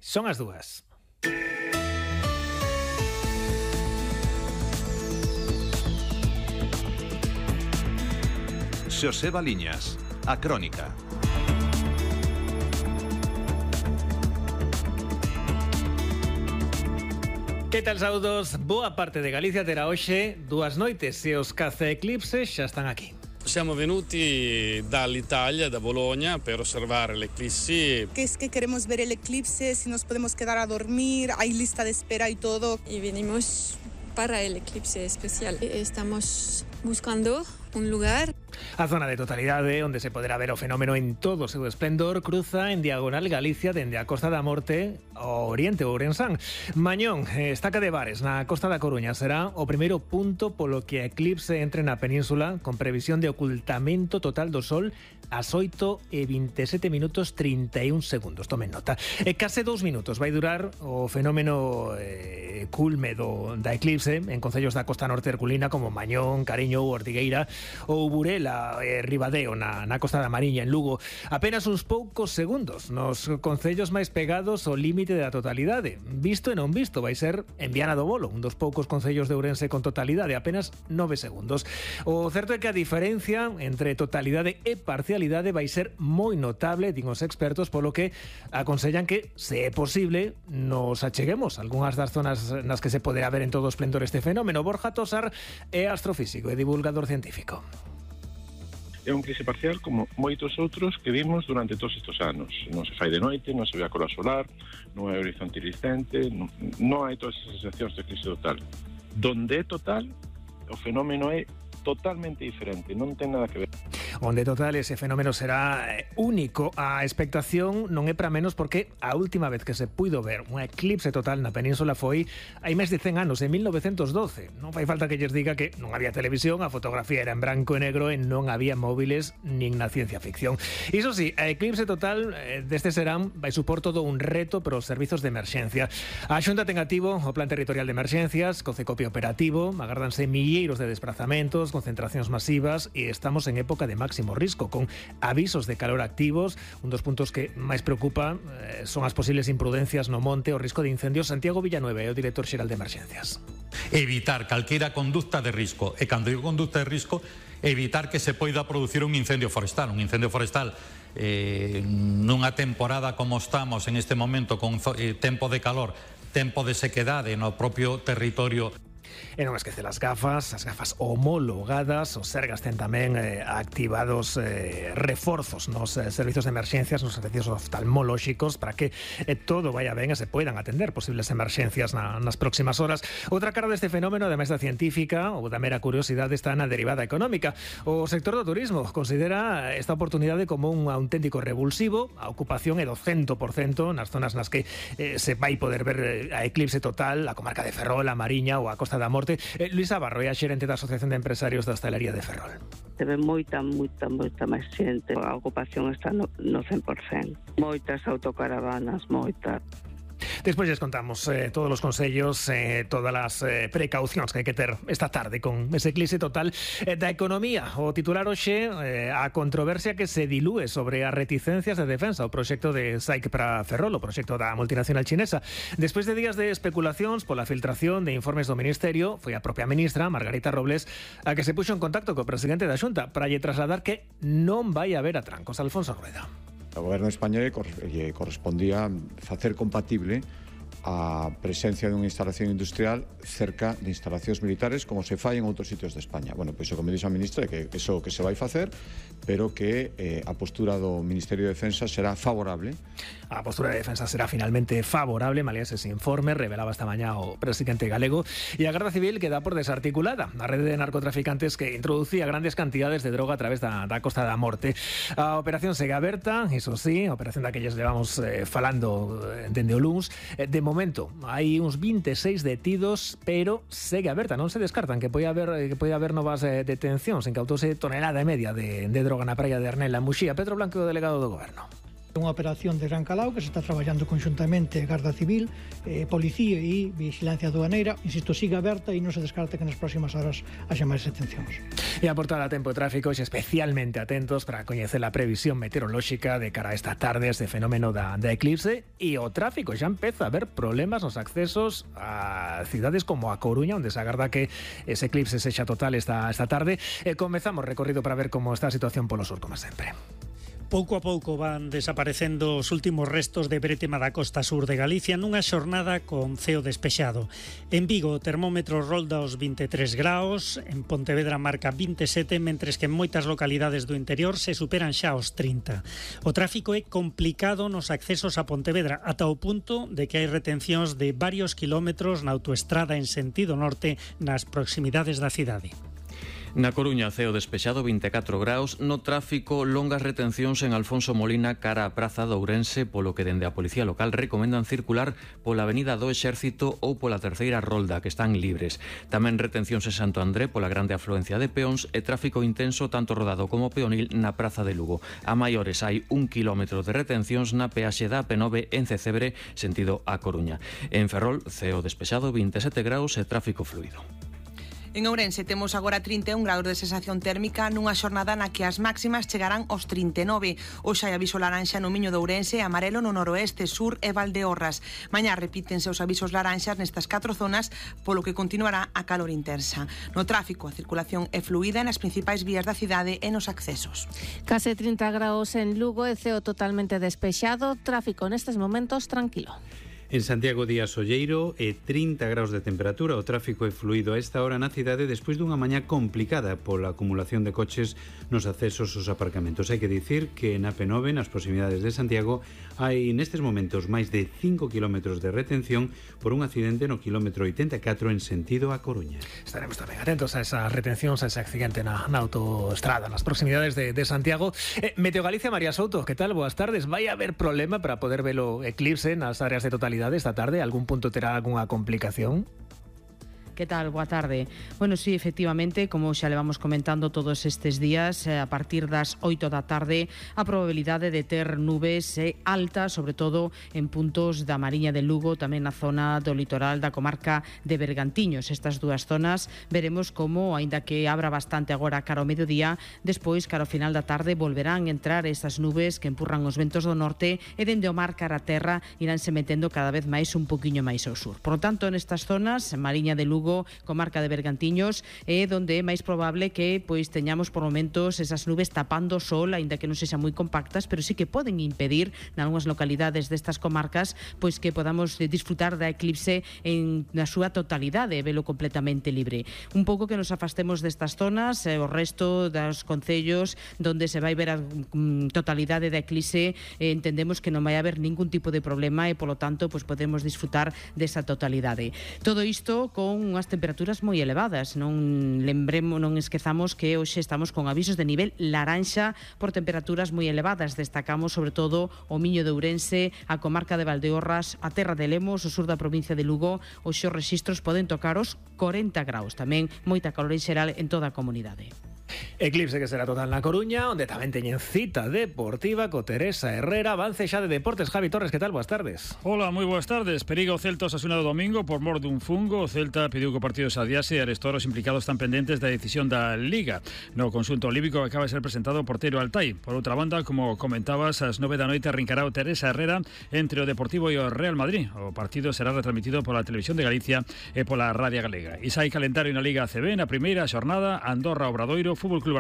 Son as 2. Xosé Baliñas, a Crónica. Que tal, saudos? Boa parte de Galicia terá hoxe 2 noites e os caza eclipses xa están aquí. Siamo venuti dall'Italia, da Bologna, per osservare l'eclissi. Que es que queremos ver el eclipse, si nos podemos quedar a dormir, hay lista de espera y todo. Y venimos para el eclipse especial. Estamos buscando un lugar. A zona de totalidade, onde se poderá ver o fenómeno en todo o seu esplendor, cruza en diagonal Galicia dende a Costa da Morte ao Oriente, o Ourensán. Mañón, estaca de Bares, na Costa da Coruña, será o primeiro punto polo que a eclipse entre na península, con previsión de ocultamento total do Sol ás 8:27 minutos 31 segundos. Tomen nota. Case 2 minutos vai durar o fenómeno culme da eclipse en concellos da Costa Norte herculina como Mañón, Cariño ou Ortigueira ou Burela, Ribadeo na Costa da Mariña, en Lugo. Apenas uns poucos segundos nos concellos máis pegados ao límite da totalidade. Visto e non visto vai ser en Viana do Bolo, un dos poucos concellos de Ourense con totalidade, apenas 9 segundos. O certo é que a diferencia entre totalidade e parcialidade vai ser moi notable, din os expertos, polo que aconsellan que, se é posible, nos acheguemos a algunhas das zonas nas que se poderá ver en todo o esplendor este fenómeno. Borja Tosar é astrofísico e divulgador científico. É un eclipse parcial como moitos outros que vimos durante todos estes anos. Non se fai de noite, non se ve a coroa solar, non hai horizonte iriscente, non hai todas as sensacións de eclipse total. Donde é total, o fenómeno é totalmente diferente, non ten nada que ver. Onde total ese fenómeno será único. A expectación non é para menos porque a última vez que se puido ver un eclipse total na península foi hai máis de 100 anos, en 1912. Non fai falta que lles diga que non había televisión, a fotografía era en branco e negro e non había móviles nin na ciencia ficción. Iso sí, a eclipse total deste serán vai supor todo un reto para os servizos de emerxencia. A Xunta ten activo o Plan Territorial de Emerxencias, co Cecopio operativo, agárdanse milleiros de desplazamentos, concentracións masivas e estamos en época de máximo risco, con avisos de calor activos. Un dos puntos que máis preocupa son as posibles imprudencias no monte, o risco de incendios. Santiago Villanueva é o director xeral de Emerxencias. Evitar calquera conducta de risco, e cando digo conducta de risco, evitar que se poida producir un incendio forestal. Un incendio forestal nunha temporada como estamos en este momento, con tempo de calor, tempo de sequedade no propio territorio. E non esquece as gafas homologadas. Os Sergas ten tamén activados reforzos nos servizos de emerxencias, nos servicios oftalmolóxicos, para que todo vaya ben e se poidan atender posibles emerxencias nas próximas horas. Outra cara deste fenómeno, ademais da científica ou da mera curiosidade, está na derivada económica. O sector do turismo considera esta oportunidade como un auténtico revulsivo. A ocupación é do 100% nas zonas nas que se vai poder ver a eclipse total, a comarca de Ferrol, a Mariña ou a Costa da Morte. Luisa Barro é a xerente da Asociación de Empresarios da Hostalería de Ferrol. Se ve moita máis xente. A ocupación está no 100%. Moitas autocaravanas, moitas. Despois lles contamos todos os consellos, todas as precaucións que hai que ter esta tarde con ese eclipse total da economía. O titular hoxe, a controversia que se dilúe sobre as reticencias de defensa, o proxecto de SAIC para Ferrol, o proxecto da multinacional chinesa. Despois de días de especulacións pola filtración de informes do Ministerio, foi a propia ministra, Margarita Robles, a que se puxo en contacto co presidente da Xunta para lle trasladar que non vai haber atrancos. Alfonso Rueda. O goberno español lle correspondía facer compatible a presencia dunha instalación industrial cerca de instalacións militares como se fai en outros sitios de España. Bueno, pois o que me dixo a ministra é que iso que se vai facer, pero que a postura do Ministerio de Defensa será favorable. A postura de defensa será finalmente favorable, malia ese informe, revelaba esta mañá o presidente galego, e a Garda Civil queda por desarticulada a rede de narcotraficantes que introducía grandes cantidades de droga a través da Costa da Morte. A operación segue aberta, iso sí, a operación daquelles levamos falando dende o luns. De momento, hai uns 26 detidos, pero segue aberta, non se descartan que pode haber novas detencións. Incautouse tonelada e media de droga na praia de Arnela, en Muxía. Pedro Blanco, o delegado do Goberno. Unha operación de Gran Calao que se está traballando conxuntamente Garda Civil, Policía e Vigilancia Aduaneira. Insisto, siga aberta e non se descarte que nas próximas horas haxa máis detencións. E a portada Tempo e Tráfico especialmente atentos para coñecer a previsión meteorolóxica de cara a esta tarde, este fenómeno da eclipse, e o tráfico xa empeza a haber problemas nos accesos a cidades como a Coruña, onde se agarda que ese eclipse sexa total esta tarde. Comezamos recorrido para ver como está a situación polo sur, como sempre. Pouco a pouco van desaparecendo os últimos restos de brétema da costa sur de Galicia nunha xornada con ceo despexado. En Vigo o termómetro rolda os 23 graus, en Pontevedra marca 27, mentres que en moitas localidades do interior se superan xa os 30. O tráfico é complicado nos accesos a Pontevedra, ata o punto de que hai retencións de varios kilómetros na autoestrada en sentido norte nas proximidades da cidade. Na Coruña, ceo despexado, 24 graus. No tráfico, longas retencións en Alfonso Molina cara a Praza de Ourense, polo que dende a Policía Local recomendan circular pola Avenida do Exército ou pola Terceira Rolda, que están libres. Tamén retencións en Santo André pola grande afluencia de peóns e tráfico intenso tanto rodado como peonil na Praza de Lugo. A maiores hai 1 kilómetro de retencións na peaxe da AP9 en Cecebre, sentido a Coruña. En Ferrol, ceo despexado, 27 graus e tráfico fluido. En Ourense temos agora 31 graus de sensación térmica nunha xornada na que as máximas chegarán aos 39. Hoxe hai aviso laranxa no Miño de Ourense e amarelo no noroeste, sur e Valdeorras. Mañá repítense os avisos laranxas nestas 4 zonas, polo que continuará a calor intensa. No tráfico, a circulación é fluida nas principais vías da cidade e nos accesos. Case 30 graus en Lugo e ceo totalmente despexado, tráfico nestes momentos tranquilo. En Santiago día solleiro e 30 graus de temperatura. O tráfico é fluido a esta hora na cidade despois dunha mañá complicada pola acumulación de coches nos accesos aos aparcamentos. Hai que dicir que na P9, nas proximidades de Santiago, hai nestes momentos máis de 5 kilómetros de retención por un accidente no kilómetro 84 en sentido a Coruña. Estaremos tamén atentos a esas retencións, a ese accidente na autoestrada, nas proximidades de Santiago. Meteo Galicia, María Souto, que tal? Boas tardes. Vai haber problema para poder ver o eclipse nas áreas de totalidade esta tarde? Algún punto terá algunha complicación? Que tal? Boa tarde. Bueno, sí, efectivamente, como xa levamos comentando todos estes días, a partir das 8 da tarde a probabilidade de ter nubes alta, sobre todo en puntos da Mariña de Lugo, tamén na zona do litoral da comarca de Bergantiños. Estas dúas zonas veremos como, aínda que abra bastante agora cara ao mediodía, despois, cara ao final da tarde, volverán entrar esas nubes que empurran os ventos do norte e dende o mar cara a terra iránse metendo cada vez máis un poquinho máis ao sur. Por lo tanto, nestas zonas, Mariña de Lugo, comarca de Bergantiños, é donde é máis probable que pois teñamos por momentos esas nubes tapando o sol, aínda que non sexan moi compactas, pero sí que poden impedir nalgúnas localidades destas comarcas pois que podamos disfrutar da eclipse na súa totalidade e velo completamente libre. Un pouco que nos afastemos destas zonas, o resto dos concellos donde se vai ver a totalidade da eclipse, entendemos que non vai haber ningún tipo de problema e polo tanto pois podemos disfrutar desa totalidade. Todo isto con unhas temperaturas moi elevadas. Non esquezamos que hoxe estamos con avisos de nivel laranxa por temperaturas moi elevadas. Destacamos sobre todo o Miño de Ourense, a comarca de Valdeorras, a terra de Lemos, o sur da provincia de Lugo. Hoxe os rexistros poden tocar os 40 graus. Tamén moita calor en xeral en toda a comunidade. Eclipse que será total na Coruña, onde tamén teñen cita deportiva co Teresa Herrera. Avance xa de deportes. Javi Torres, que tal? Boas tardes. Hola, moi boas tardes. Periga o Celta Osasuna do domingo por mor dun fungo. O Celta pediu que o partido se adiase e arestou os implicados están pendentes da decisión da Liga. No conxunto olímpico acaba de ser presentado o porteiro Altai. Por outra banda, como comentabas, ás 9 da noite arrincará o Teresa Herrera entre o Deportivo e o Real Madrid. O partido será retransmitido pola Televisión de Galicia e pola Radio Galega. E xa hai calendario na Liga ACB, na primeira xornada, Andorra, Obradoiro, Fútbol Club